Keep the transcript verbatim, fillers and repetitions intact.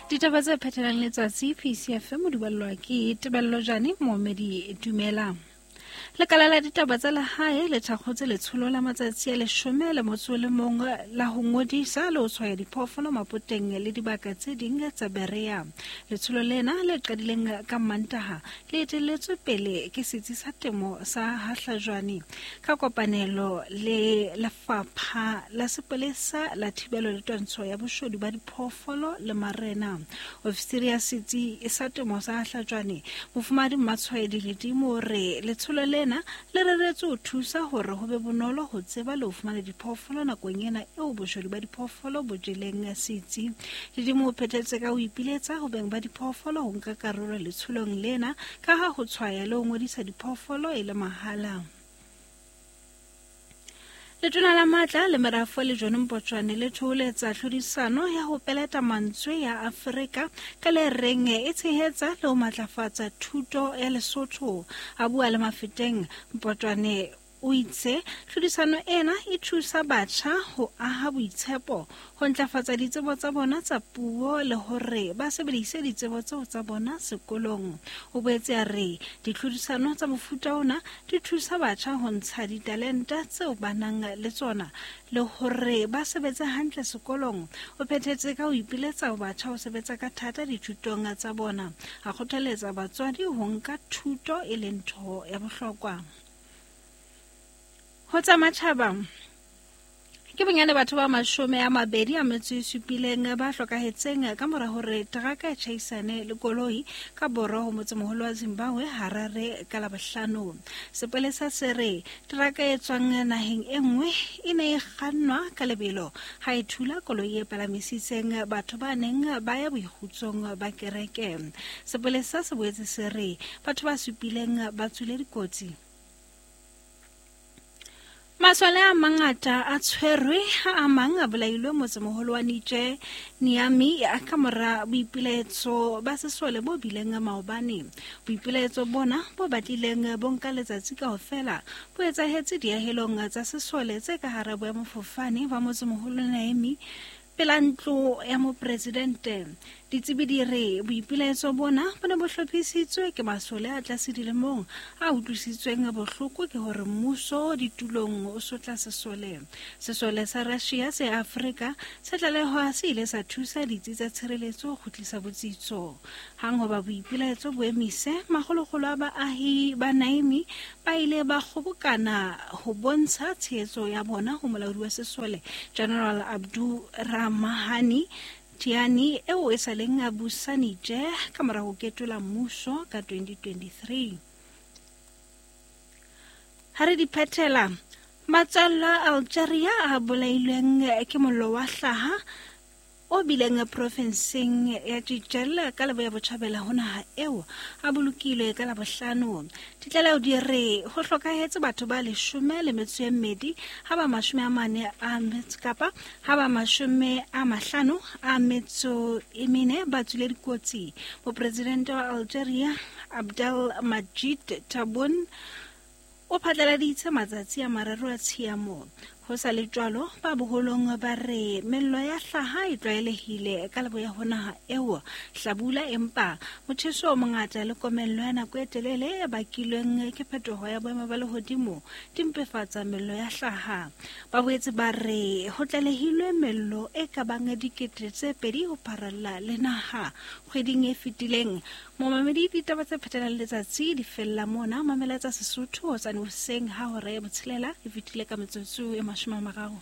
Ditaba tse phethelang letsatsi P C F M di ballwa ke Tebello Jane Moomedi Dumela. Lekala la ditaba tsa lehae le thakgotse letsholo la matsatsi a leshome le motso o le mong la ho ngodisa le ho tshwaya diphoofolo mapoteng le dibaka tse ding tsa Berea. Letsholo lena le qadileng ka Mantaha le etelletswe pele ke setsi sa temo sa Hahlajwane ka kopanelo le Lefapha la Sepolesa la Thibelo le Twantsho ya Boshodu ba Diphoofolo le Marena. Ofisiri ya setsi sa temo sa Hahlajwane Mofumahadi Mmatshwaedi Ledimo o re letsholo lena le reretswe ho thusa hore ho be bonolo ho tseba le ho fumana diphoofolo nakong ena eo boshodu ba diphoofolo bo jeleng setsi. Ledimo o phethetse ka ho ipiletsa ho beng ba diphoofolo ho nka karolo letsholong lena ka ha ho tshwaya le ho ngodisa diphoofolo e le mahala. Letona la matla le merafo le John Mpotshwane le thoholetsa tlhodisano ya ho peleta mantswe ya Afrika ka le reng e tshehetsa le ho matlafatsa thuto ya Lesotho. A bua le Mafeteng, Mpotshwane o itse tlhodisano ena e thusa batjha ho aha boitshepo, ho ntlafatsa ditsebo tsa bona tsa puo le hore ba sebedise ditsebo tseo tsa bona sekolong. O boetse a re ditlhodisano tsa mofuta ona di thusa batjha ho ntsha ditalenta tseo ba nang le tsona le hore ba sebetse hantle sekolong. O phethetse ka ho ipiletsa ho batjha ho sebetsa ka thata dithutong tsa bona, a kgothaletsa batswadi ho nka thuto e le ntho ya bohlokwa. Ho tsa matjhaba, ke bonyane batho ba mashome a mabedi a metso e supileng ba hlokahetseng ka mora hore teraka e tjhaisane le koloi ka borwa ho motsemoholo wa Zimbabwe Harare ka Labohlano. Sepolesa se re teraka e tswang naheng e nngwe e ne e kgannwa ka lebelo ha e thula koloi e palamisitseng batho ba neng ba ya boikgutsong ba kereke. Sepolesa se boetse se re batho ba supileng ba tswile dikotsi. Masole a mangata a tshwerwe ha a mang a bolailwe motsemoholo wa Niger Niamey ka mora boipilaetso ba sesole bo bileng maobane. Boipilaetso bona bo batlileng bo nka letsatsi kaofela bo etsahetse diahelong tsa sesole tse ka hara boemafofane ba motsemoholo Niamey pela ntlo ya mopresidente. Ditsebi di re boipilaetso bona bo ne bo hlophisitswe ke masole a tlase dilemong a utlwisitsweng bohloko ke hore mmuso ditulong o sotla sesole. Sesole sa Russia se Afrika se tlalehwa se ile sa thusa ditsi tsa tshireletso ho kgutlisa botsitso. Hang hoba boipilaetso bo emise, makgolokgolo a baahi ba Niamey ba ile ba kgobokana ho bontsha tshehetso ya bona ho molaodi wa sesole General Abdou Ramahani Tiani eo e sa leng a busa Niger ka mora ho ketola mmuso ka twenty twenty-three. Ha re di phethela, matswalla a Algeria a bolailweng ke mollo wa hlaha o bileng profenseng ya Jijel ka leboya botjhabela ho naha eo a bolokilwe ka Labohlano. Ditlaleho di re ho hlokahetse batho ba leshome le metso e mmedi ha ba mashome a mane a metso kapa ha ba mashome a mahlano a metso e mene ba tswile dikotsi. Mopresidente wa Algeria Abdel Majid Tebboune o phatlaladitse matsatsi a mararo a tshiamo. Ho sa le jwalo, ba boholong ba re mello ya hlaha e tlwaelehile ka leboya ho naha eo hlabula, empa motjheso o mongata le komello ya nako e telele e bakilweng ke phetoho ya boemo ba lehodimo di mpefatsa mello ya hlaha. Ba boetse ba re ho tlalehilwe mello e ka bang dikete tse pedi ho pharalla le naha kgweding e fetileng. Momamedi, ditaba tse phethelang letsatsi di fella mona. Mamela tsa Sesotho hosane hoseng ha hora ya botshelela e fetile ka metsotso e mashome a mararo.